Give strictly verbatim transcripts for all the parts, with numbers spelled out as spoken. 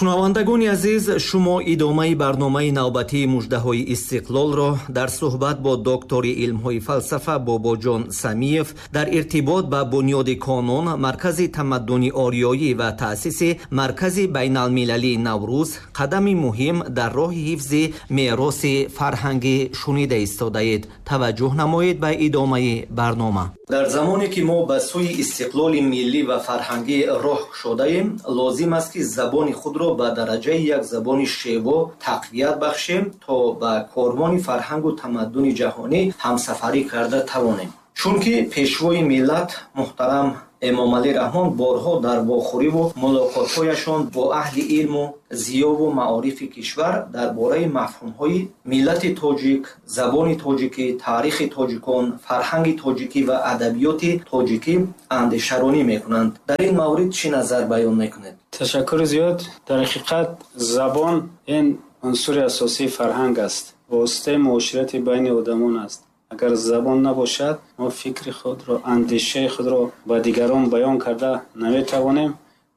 Шунавандагони азиз, шумо идомаи барномаи навбатии муждаҳои истиқлолро дар суҳбат бо доктори илмҳои фалсафа Бобоҷон Самиев дар иртибот ба бунёди Конон, маркази тамаддуни ориёӣ ва таъсиси маркази байналмилалии Наврӯз, қадами муҳим дар роҳи ҳифзи мероси фарҳангӣ шунида истодаед. Таваҷҷӯҳ намоед ба идомаи барнома. Дар замоне ки мо ба сӯи истиқлоли миллӣ ва фарҳангӣ роҳ кушодаем, лозим аст, ки забони худро ба дараҷаи як забони шево тақвият бахшем, то ба корвони фарҳангу тамаддуни ҷаҳонӣ ҳамсафарӣ карда тавонем. Чунки пешвои миллат муҳтарам Эмомалӣ Раҳмон борҳо дар вохӯриву мулоқотҳояшон бо аҳли илму зиёву маорифи кишвар дар бораи мафҳумҳои миллати тоҷик, забони тоҷикӣ, таърихи тоҷикон, фарҳанги тоҷикӣ ва адабиёти тоҷикӣ андешаронӣ мекунанд. Дар ин маврид чӣ назар баён мекунед? Ташаккури зиёд. Дар ҳақиқат забон ин унсури асосии фарҳанг аст, воситаи муоширати байни одамон аст. Агар забон набошад, мо фикри худро, андешаи худро ба дигарон баён карда наметавонем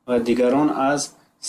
ва дигарон аз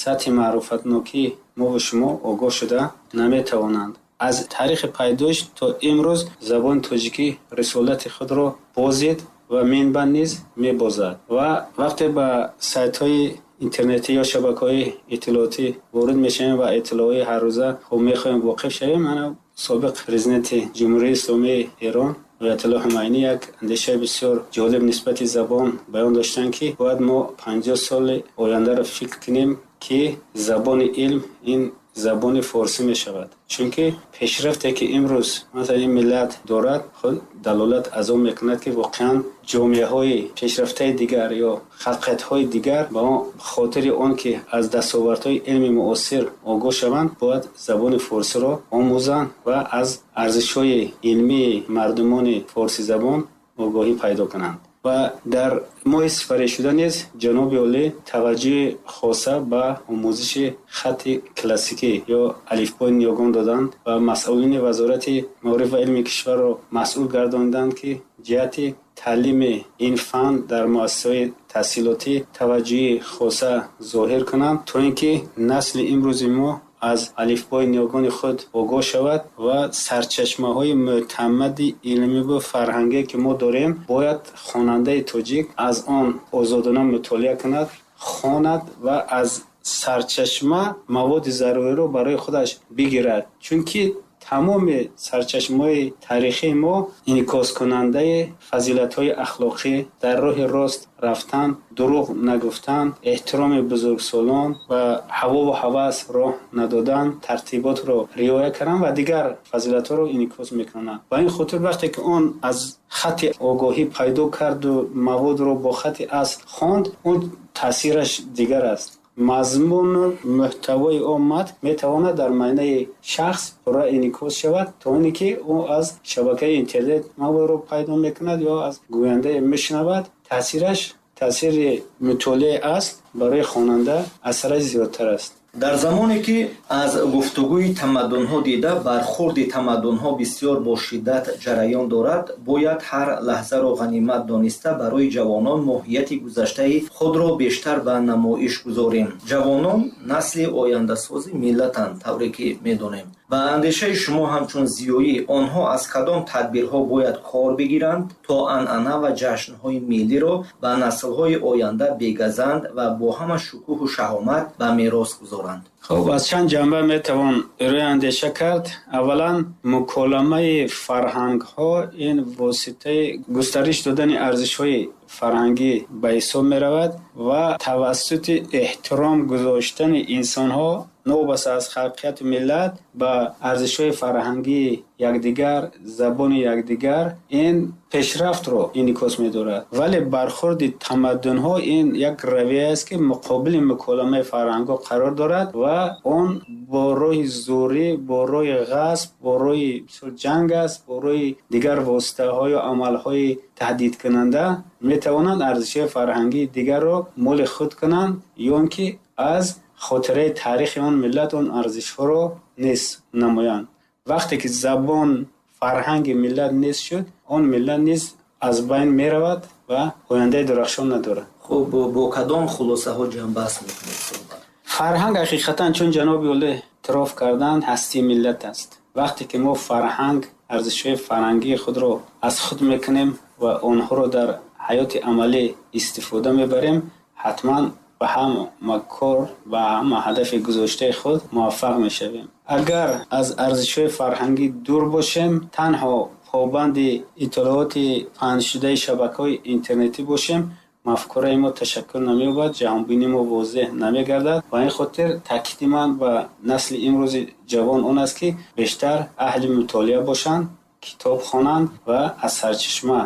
сатҳи маърифатнокии мо ва шумо огоҳ шуда наметавонанд. Аз таърихи пайдоиш то имрӯз забони тоҷикӣ рисолати худро бозид ва минбаъд низ мебозад. Ва вақте ба сайтҳои интернетӣ ё шабакаҳои иттилоотӣ ворид мешавем ва иттилоъҳои ҳаррӯза хуб мехоҳем воқиф шавем, мана собиқ президенти Ҷумҳурии Исломии Эрон Оятулло Хумайнӣ як андешаи бисёр ҷолиб нисбати забон баён доштанд, ки бояд мо панҷоҳ соли ояндаро фикр кунем, ки забони илм ин забони форсӣ мешавад. Чунки пешрафте ки имрӯз масалан ин миллат дорад, худ далолат аз он мекунад, ки воқеан ҷомеаҳои пешрафтаи дигар ё халқиятҳои дигар ба он хотири он ки аз дастовардҳои илми муосир огоҳ шаванд, бояд забони форсиро омӯзанд ва аз арзишҳои илмии мардумони форсизабон огоҳӣ пайдо кунанд. Ва дар моҳи сипаришуда низ ҷаноби олӣ таваҷҷӯҳи хоса ба омӯзиши хатти классикӣ ё алифбои ниёгон доданд ва масъулини Вазорати маориф ва илми кишварро масъул гардониданд, ки ҷиҳати таълими ин фан дар муассисаҳои таҳсилотӣ таваҷҷӯҳи хоса зоҳир кунанд, то ин ки насли имрӯзи мо аз алифбои ниёгони худ огоҳ шавад ва сарчашмаҳои мӯътамади илмӣ ва фарҳангие ки мо дорем, бояд хонандаи тоҷик аз он озодона мутолиа кунад, хонад ва аз сарчашма маводи заруриро барои худаш бигирад. Чунки тамоми сарчашмаҳои таърихии мо инъикоскунандаи фазилатҳои ахлоқӣ, дар роҳи рост рафтан, дурӯғ нагуфтан, эҳтироми бузургсолон ва ҳавову ҳавас роҳ надодан, тартиботро риоя кардан ва дигар фазилатҳоро инъикос мекунанд. Ба ин хотир вақте ки он аз хатти огоҳӣ пайдо карду маводро бо хатти асл хонд, он таъсираш дигар аст. Мазмуну мӯҳтавои он матн метавонад дар майнаи шахс пурра инъикос шавад, то оне ки ӯ аз шабакаи интернет маводро пайдо мекунад ё аз гӯяндае мешунавад. Таъсираш, таъсири мутолиаи асл барои хонанда асараш зиёдтар аст. Дар замоне ки аз гуфтугӯи тамаддунҳо дида бархӯрди тамаддунҳо бисёр бо шиддат ҷараён дорад, бояд ҳар лаҳзаро ғанимат дониста барои ҷавонон моҳияти гузаштаи худро бештар ба намоиш гузорем. Ҷавонон насли ояндасози миллатанд, тавре ки медонем. Ба андешаи шумо ҳамчун зиёӣ, онҳо аз кадом тадбирҳо бояд кор бигиранд, то анъана ва ҷашнҳои миллиро ба наслҳои оянда бегазанд ва бо ҳама шукӯҳу шаҳомат ба мерос гузоранд? Хуб, аз чанд ҷанба метавон рӯи андеша кард. Аввалан, муколамаи фарҳангҳо ин воситаи густариш додани арзишҳои фарҳангӣ ба ҳисоб меравад ва тавассути эҳтиром гузоштани инсонҳо новобаста аз халқияту миллат ба арзишҳои фарҳангии якдигар, забони якдигар, ин пешрафтро инъикос медорад. Вале бархӯрди тамаддунҳо ин як равия аст, ки муқобили муколамаи фарҳангҳо қарор дорад ва он бо роҳи зӯрӣ, бо роҳи ғасб, бо роҳи бисёр ҷанг аст, бо роҳи дигар воситаҳо ё амалҳои таҳдидкунанда метавонанд арзишҳои фарҳангии дигарро моли худ кунанд ё ин ки аз хотираи таърихи он миллат он арзишҳоро нест намоянд. Вақте ки забон, фарҳанги миллат нест шуд, он миллат низ аз байн меравад ва ояндаи дурахшон надорад. Хуб, бо кадом хулосаҳо ҷамъбаст мекунед суҳбат? Фарҳанг ҳақиқатан, чун ҷаноби олӣ эътироф карданд, ҳастии миллат аст. Вақте ки мо фарҳанг, арзишҳои фарҳангии худро аз худ мекунем ва онҳоро дар ҳаёти амалӣ истифода мебарем, ҳатман ба ҳама кор, ба ҳама ҳадафи гузоштаи худ муваффақ мешавем. Агар аз арзишҳои фарҳангӣ дур бошем, танҳо побанди иттилооти паҳншудаи шабакаҳои интернетӣ бошем, мафкураи мо ташаккул намеёбад, ҷаҳонбинии мо возеҳ намегардад. Ба ин хотир таъкиди ман ба насли имрӯзи ҷавон он аст, ки бештар аҳли мутолиа бошанд, китоб хонанд ва аз сарчашма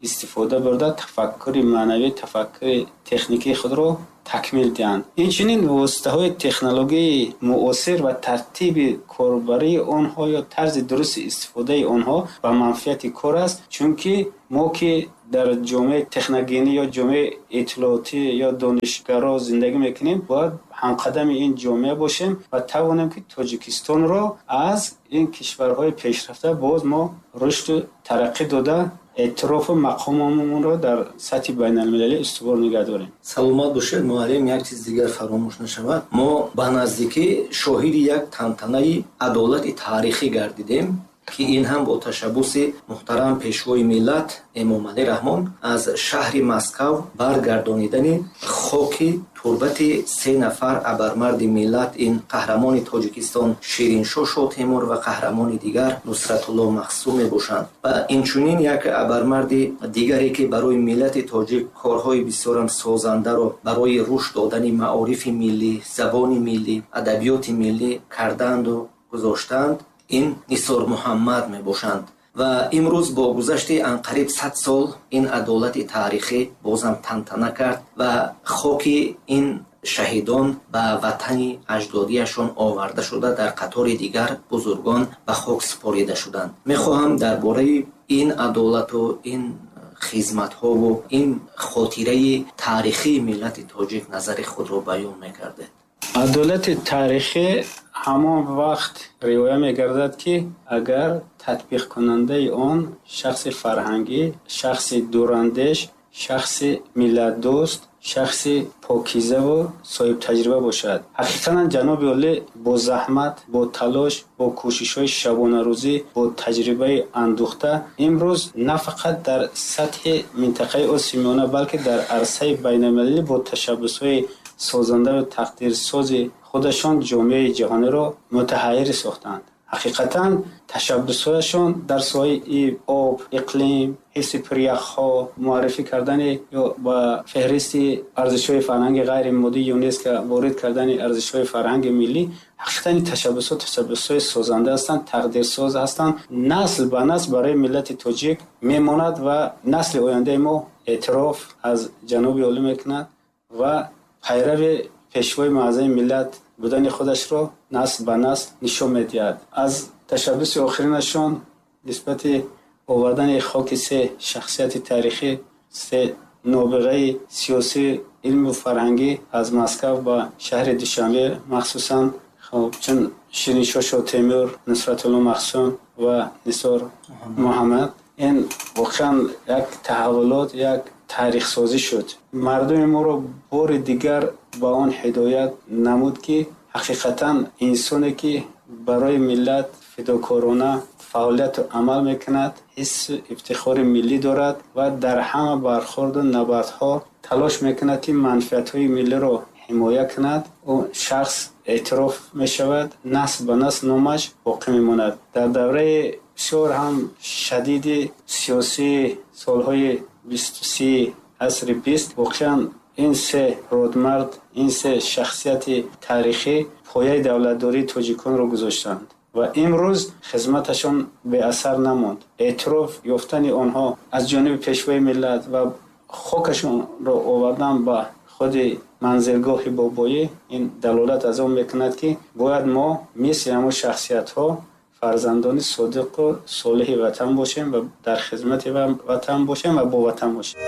истифода бурда тафаккури маънавӣ, тафаккури техникии худро такмил диҳанд. Инчунин воситаҳои технологияи муосир ва тартиби корбарии онҳо ё тарзи дурусти истифодаи онҳо ба манфиати кор аст, чунки мо ки дар ҷомеаи техногенӣ ё ҷомеаи иттилоотӣ ё донишгаро зиндагӣ мекунем, бояд ҳамқадами ин ҷомеа бошем ва тавонем, ки Тоҷикистонро аз ин кишварҳои пешрафта боз мо рушду тараққӣ дода, эътирофу мақомамонро дар сатҳи байналмилалӣ устувор нигоҳ дорем. Саломат бошед, муаллим. Як чиз дигар фаромӯш нашавад. Мо ба наздикӣ шоҳиди як тантанаи адолати таърихӣ гардидем, ки ин ҳам бо ташаббуси муҳтарам пешвои миллат Эмомалӣ Раҳмон аз шаҳри Москав баргардонидани хоки турбати се нафар абармарди миллат, ин қаҳрамони Тоҷикистон Шириншоҳ Шотемур ва қаҳрамони дигар Нусратулло Махсум мебошанд. Ва инчунин як абармарди дигаре, ки барои миллати тоҷик корҳои бисёрам созандаро барои рушд додани маорифи миллӣ, забони миллӣ, адабиёти миллӣ карданду гузоштанд, ин Нисор Муҳаммад мебошанд. Ва имрӯз бо гузашти анқариб сад сол ин адолати таърихӣ бозам тантана кард ва хоки ин шаҳидон ба ватани аҷдодиашон оварда шуда, дар қатори дигар бузургон ба хок супорида шуданд. Мехоҳам дар бораи ин адолату ин хизматҳову ин хотираи таърихии миллати тоҷик назари худро баён мекардед. Адолати таърихӣ ҳамон вақт риоя мегардад, ки агар татбиқкунандаи он шахси фарҳангӣ, шахси дурандеш, шахси миллатдӯст, шахси покизаву соҳибтаҷриба бошад. Ҳақиқатан ҷаноби олӣ бо заҳмат, бо талош, бо кӯшишҳои шабонарӯзӣ, бо таҷрибаи андӯхта имрӯз на фақат дар сатҳи минтақаи Осиёи Миёна, балки дар арсаи байналмилалӣ бо ташаббусҳои созанда ва тақдирсози худашон ҷомеаи ҷаҳониро мутаҳайир сохтанд. Ҳақиқатан ташаббусҳояшон дар соҳаи об, иқлим, ҳифзи пиряхҳо, муаррифӣ кардани ё ба феҳристи арзишҳои фарҳанги ғайримоддии ЮНЕСКО ворид кардани арзишҳои фарҳанги миллӣ, ҳақиқатан ин ташаббусҳо ташаббусҳои созанда ҳастанд, тақдирсоз ҳастанд. Насл ба насл барои миллати тоҷик мемонад ва насли ояндаи мо эътироф аз ҷаноби олӣ мекунад ва пайрави пешвои муаззами миллат будани худашро насл ба насл нишон медиҳад. Аз ташаббуси охиринашон нисбати овардани хоки се шахсияти таърихӣ, се нобиғаи сиёсӣ, илму фарҳангӣ аз Москав ба шаҳри Душанбе, махсусан хоб чун Шириншоҳ Шотемур, Нусратулло Махсум ва Нисор Муҳаммад, ин воқеан як таҳаввулот, як таърихсозӣ шуд. Мардуми моро бори дигар ба он ҳидоят намуд, ки ҳақиқатан инсоне, ки барои миллат фидокорона фаъолияту амал мекунад, ҳиссу ифтихори миллӣ дорад ва дар ҳама бархӯрду набардҳо талош мекунад, ки манфиатҳои миллиро ҳимоя кунад, ӯ шахс эътироф мешавад, насл ба насл номаш боқӣ мемонад. Дар давраи бисёр ҳам шадиди сиёсии солҳои бисту си асри бист воқеан ин се родмард, ин се шахсияти таърихӣ пояи давлатдории тоҷиконро гузоштанд ва имрӯз хизматашон беасар намонд. Эътироф ёфтани онҳо аз ҷониби пешвои миллат ва хокашонро овардан ба худи манзилгоҳи бобоӣ ин далолат аз он мекунад, ки бояд мо мисли ҳамон шахсиятҳо фарзандони содиқу солиҳи ватан бошем ва дар хизмати ватан бошем ва бо ватан бошем.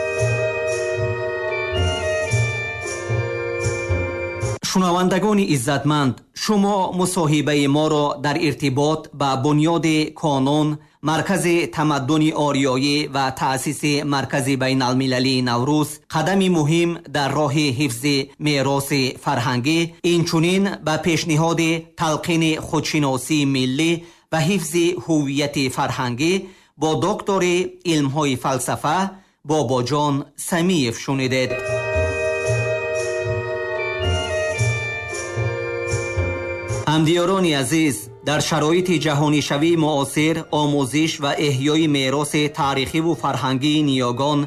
Шунавандагони иззатманд, шумо мусоҳибаи моро дар иртибот ба бунёди Конон, маркази тамаддуни ориёӣ ва таъсиси маркази байналмилалии Наврӯз қадами муҳим дар роҳи ҳифзи мероси фарҳангӣ, инчунин ба пешниҳоди талқини худшиносии миллӣ ва ҳифзи ҳуввияти фарҳангӣ бо доктори илмҳои фалсафа Бобоҷон Самиев шунидед. Ҳамдиёрони азиз, дар шароити ҷаҳонишавии муосир омӯзиш ва эҳёи мероси таърихиву фарҳангии ниёгон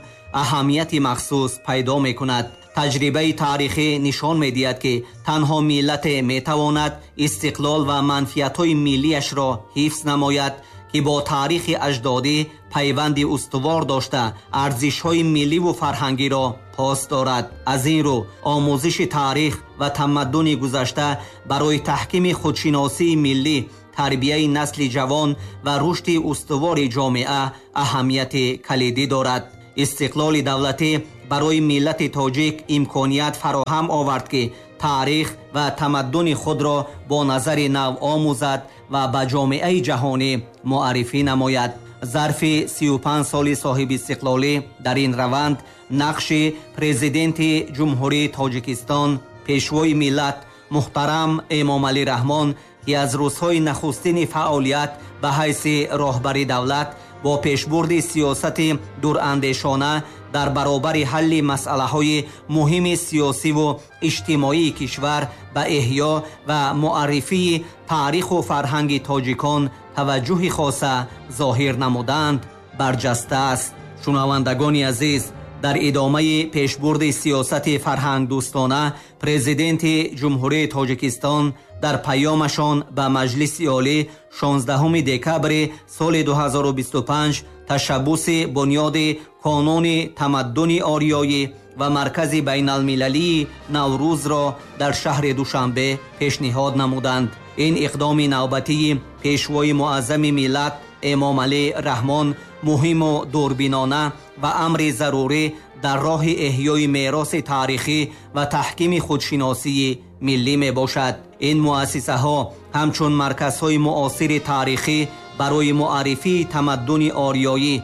аҳамияти махсус пайдо мекунад. Таҷрибаи таърихӣ нишон медиҳад, ки танҳо миллате метавонад истиқлол ва манфиатҳои миллиашро ҳифз намояд, ки бо таърихи аҷдодӣ пайванди устувор дошта, арзишҳои милливу фарҳангиро пос дорад. Аз ин рӯ омӯзиши таърих ва тамаддуни гузашта барои таҳкими худшиносии миллӣ, тарбияи насли ҷавон ва рушди устувори ҷомеа аҳамияти калидӣ дорад. Истиқлоли давлатӣ барои миллати тоҷик имконият фароҳам овард, ки таърих ва тамаддуни худро бо назари нав омӯзад ва ба ҷомеаи ҷаҳонӣ муаррифӣ намояд. Зарфи сию панҷ соли соҳибистиқлолӣ дар ин раванд нақши президенти Ҷумҳурии Тоҷикистон, пешвои миллат муҳтарам Эмомалӣ Раҳмон, ки аз рӯзҳои нахустини фаъолият ба ҳайси роҳбари давлат бо пешбурди сиёсати дурандешона дар баробари ҳалли масъалаҳои муҳими сиёсиву иҷтимоии кишвар ба эҳё ва муаррифии таъриху фарҳанги тоҷикон таваҷҷӯҳи хоса зоҳир намуданд, барҷаста аст. Шунавандагони азиз, дар идомаи пешбурди сиёсати фарҳангдӯстона президенти Ҷумҳурии Тоҷикистон дар паёмашон ба Маҷлиси Олӣ шонздаҳуми декабри соли ду ҳазору бисту панҷ ташаббуси бунёди Қонуни тамаддуни ориёӣ ва маркази байналмилалии Наврӯзро дар шаҳри Душанбе пешниҳод намуданд. Ин иқдоми навбатии пешвои муаззами миллат Эмомалӣ Раҳмон муҳиму дурбинона ва амри зарурӣ дар роҳи эҳёи мероси таърихӣ ва таҳкими худшиносии миллӣ мебошад. Ин муассисаҳо ҳамчун марказҳои муосири таърихӣ барои муаррифии тамаддуни ориёӣ,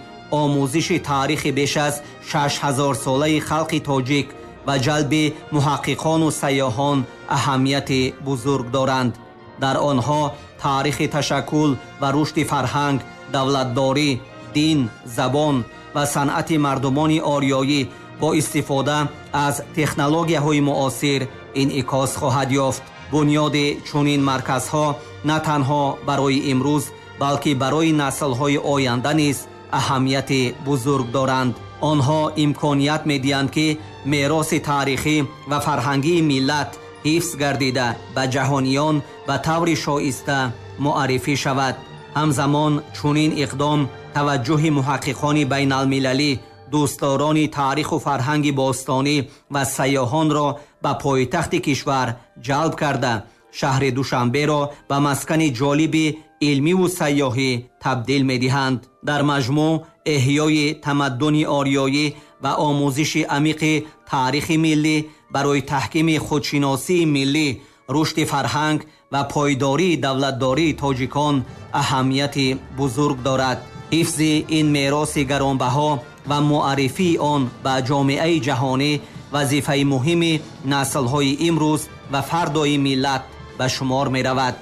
омӯзиши таърихи беш аз шаш ҳазорсолаи халқи тоҷик ва ҷалби муҳаққиқону сайёҳон аҳамияти бузург доранд. Дар онҳо таърихи ташаккул ва рушди фарҳанг, давлатдорӣ, дин, забон ва санъати мардумони ориёӣ бо истифода аз технологияҳои муосир инъикос хоҳад ёфт. Бунёди чунин марказҳо на танҳо барои имрӯз, балки барои наслҳои оянда низ аҳамияти бузург доранд. Онҳо имконият медиҳанд, ки мероси таърихӣ ва фарҳангии миллат ҳифз гардида ба ҷаҳониён ба таври шоиста муаррифӣ шавад. Ҳамзамон чунин иқдом таваҷҷӯҳи муҳаққиқони байналмилалӣ, дӯстдорони таъриху фарҳанги бостонӣ ва сайёҳонро ба пойтахти кишвар ҷалб карда, шаҳри Душанберо ба маскани ҷолиби илмиву сайёҳӣ табдил медиҳанд. Дар маҷмӯъ эҳёи тамаддуни ориёӣ ва омӯзиши амиқи таърихи миллӣ барои таҳкими худшиносии миллӣ, рушди фарҳанг ва пойдории давлатдории тоҷикон аҳамияти бузург дорад. Ҳифзи ин мероси гаронбаҳо ва муаррифии он ба ҷомеаи ҷаҳонӣ вазифаи муҳими наслҳои имрӯз ва фардои миллат ба шумор меравад.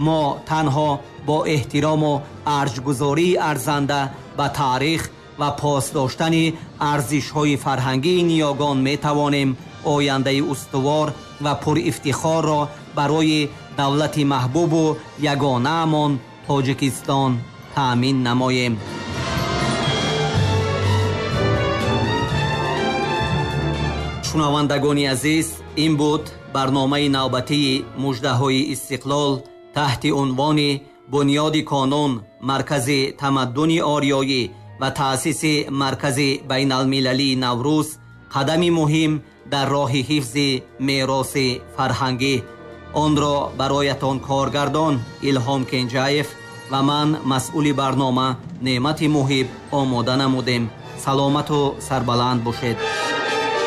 Мо танҳо бо эҳтирому арҷгузории арзанда ба таърих ва пос доштани арзишҳои фарҳангии ниёгон метавонем ояндаи устувор ва пурифтихорро барои давлати маҳбубу ягонаамон Тоҷикистон таъмин намоем. Шунавандагони азиз, ин буд барномаи навбатии муждаҳои истиқлол таҳти унвони Бунёди Қонун, маркази тамаддуни ориёӣ ва таъсиси маркази байналмилалии Наврӯз қадами муҳим дар роҳи ҳифзи мероси фарҳангӣ. Онро бароятон коргардон Илҳом Кенҷаев ва ман масъули барнома Неъмати Муҳиб омода намудем. Саломату сарбаланд бошед.